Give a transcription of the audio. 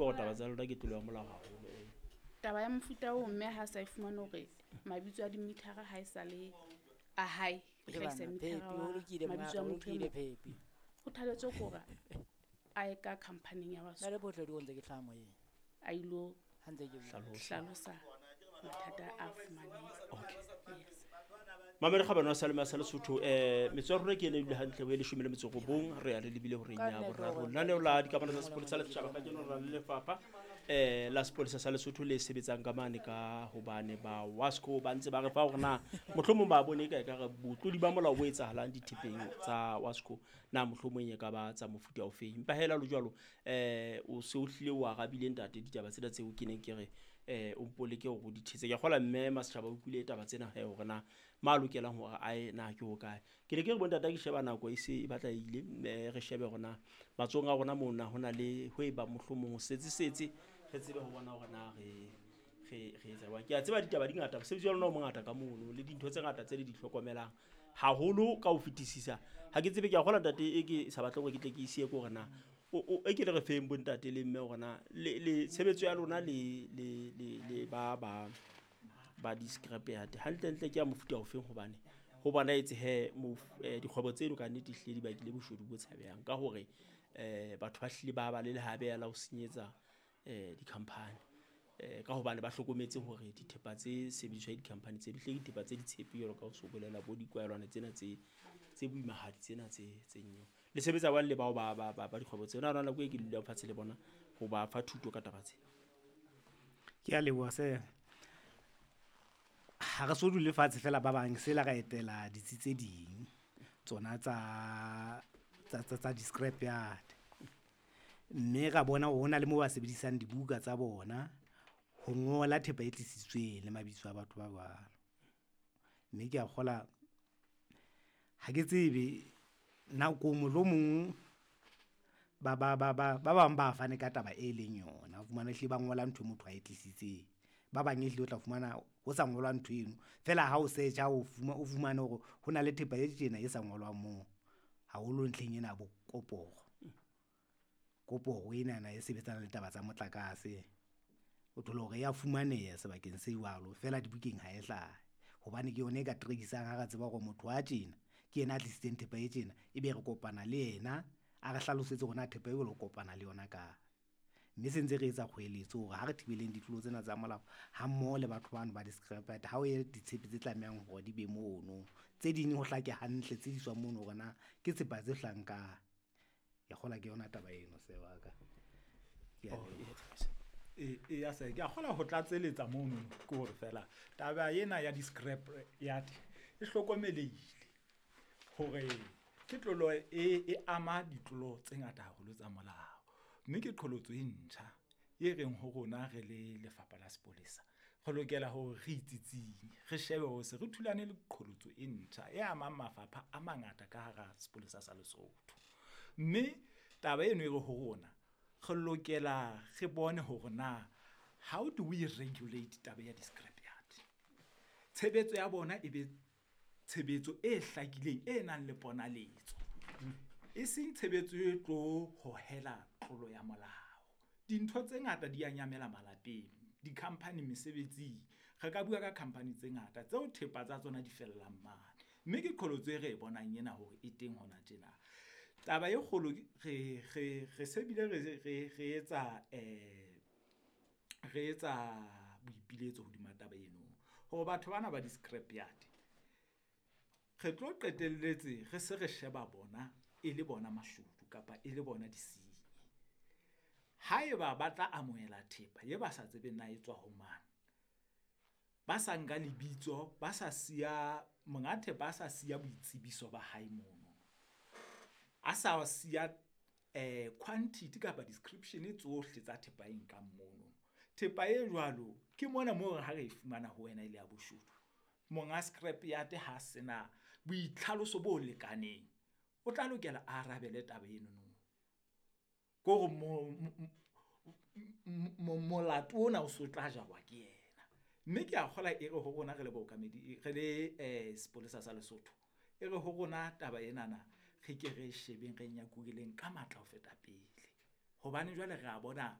utlwa gore taba tsa lona ke tlolo ya molao haholo. Taba ya mofuta oo mme ha sa e fumane hore mabitso a dimithara ha e sa le a hae, e hlahisa mithara Phepi, ho wa lokile mabitso mongaka, a ho motho e lokile mong. Phepi. Kgothaletso ke hore a ye ka company-ing ya Nna Wasco le bohle di ntse ke hlaha moyeng. a ilo Ha ntse ke bua. hlalosa mathata a fumaneng. Okay. Yes. Mamedi kgabane wa Salema sa Lesotho, metsotso ya rona ke ena e dule hantle ho e 19, re ya le lebile horeng Ka ya nnete boraro. hore Lenaneo la dikamano tsa sepolesa le setjhaba kajeno re na le lefapha la sepolesa sa Lesotho le sebetsang ka mane ka hobane ba Wasco ba ntse ba re fa hore na mohlomong ba bone ka ekare botlodi ba molao bo etsahalang dithepeng tsa Wasco na mohlomong e ka ba tsa mofuta ofeng. Empa hela le jwalo, o se o hlile o arabile ntate ditaba tsena tseo ke neng ke re o mpoleke hore o di thetse. Ke a kgolwa mme Masetjhaba o utlwile taba tsena he hore na ma lokelang hore a ye na ke hokae. Ke ne ke re bontate ha ke sheba nako e se e batla e ile, mme re shebe hore na matsohong a rona mona ho na le ho e bang mohlomong ho setse setse re tsebe ho bona hore na re etsa jwang. Ke a tseba ditaba di ngata, mosebetsi wa lona o mongata ka mono le dintho tse ngata tse le di hlokomelang haholo ka ho fetisisa. Ha ke tsebe, ke a kgolwa ntate e ke sa batle hore ke tle ke isiye ke hore na e ke le re feng bontate le mme hore na le tshebetso ya lona le ba ba ba di-scrap yard hantlentle ke ya mofuta ofeng, hobane ho bonahetse he dikgwebo tseno ka nnete ehlile di bakile boshodu bo tshabehang ka hore batho ba hlile ba ba le lehabeya la ho senyetsa di-company, ka hobane ba hlokometse hore dithepa tse sebediswang di-company tse di hlile dithepa tse di tshepe jwalo ka ho so bolela bo dikwaelwana tsena tse boimahadi tsena tse nyewe. Le sebetsa jwang le bao ba dikgwebo tsena? Na nako e ke dulang fatshe le bona ho ba fa thuto ka taba tsena? Ke a leboha sir. Ha re so dule fatshe fela ba bang, sela ra etela ditsi tse ding tsona tsa di-scrap yard. Mme ra bona hore hona le moo ba sebedisang dibuka tsa bona ho ngola thepa e tlisitsweng le mabitso a batho ba jwalo. Mme ke a kgola, ha ke tsebe nako mohlomong ba bang ba fane ka taba e leng yona. O fumana ehlile ba ngola ntho e motho a e tlisitseng. Ba bang ehlile o tla fumana ho sa ngolwa ntho eno. Feela ha o search-a o fumane hore ho na le thepa e tjena e sa ngolwang moo. Haholo ntlheng ena ya bo koporo. Koporo enana e sebetsana le taba tsa motlakase. O thole hore ya fumaneha sebakeng se jwalo, feela dibukeng ha e hlahe. Hobane ke yona e ka trace-ang ha re tseba hore motho wa tjena ke yena a tlisitseng thepa e tjena, ebe re kopana le yena a re hlalosetse hore na thepa e jwalo o kopana le yona kae. Mme se ntse re etsa kgoeletso hore ha re thibeleng ditlolo tsena tsa molao ha mmoho le batho bano ba di-scrap yard, ha o ye ditshepe tse tlamehang hore di be mono. Tse ding ho hlake hantle tse iswang mono hore na ke tshepa tse hlahang kae. Ke kgolwa ke yona taba eno sir wa ka. Ke a Oh, leboha. E ya se ke a kgolwa ho tlatseletsa mono ke hore fela taba ena ya di-scrap yard e hlokomelehile hore ke tlolo e ama ditlolo tse ngata haholo tsa molao. Mme ke qholotso e ntjha e reng ho rona re le lefapha la sepolesa re lokela hore re itsitsinye, re shebe hore se re thulane le qholotso e ntjha e amang mafapha a mangata ka hara sepolesa sa Lesotho. Mme taba eno e re ho rona re lokela re bone hore na how do we regulate taba ya di-scrap yard. Tshebetso ya bona e be tshebetso e hlakileng e nang le ponaletso, e seng tshebetso e tlo hohela tlolo ya molao. Dintho tse ngata di a nyamela malapeng, di-company mesebetsing. Re ka bua ka company tse ngata tseo thepa tsa tsona di fellang mane. Mme ke qholotso e re e bonang ena hore e teng hona tjena. Taba e kgolo re se bile re etsa boipiletso hodima taba eno hore batho bana ba di-scrap yard re tlo qetelletse re se re sheba bona e le bona mashodu kapa e le bona disenyi. Haeba ba tla amohela thepa ye ba sa tsebeng na e tswa ho mang, ba sa nka lebitso, ba sa siya monga thepa, a sa siya boitsebiso ba hae mono, a sa siya quantity kapa description tsohle tsa thepa e nkang mono. Thepa e jwalo ke mona moo ha re e fumana ho wena e le ya boshodu. Monga scrap yard ha sena boitlhaloso bo lekaneng, o tla lokela a arabele taba eno no. Ke hore molato ona o so tla jarwa ke yena. Mme ke a kgolwa e re ho rona re le baokamedi, re le sepolesa sa Lesotho, e re ho rona taba enana re ke re shebeng, re nyakureleng ka matla ho feta pele. Hobane jwale re a bona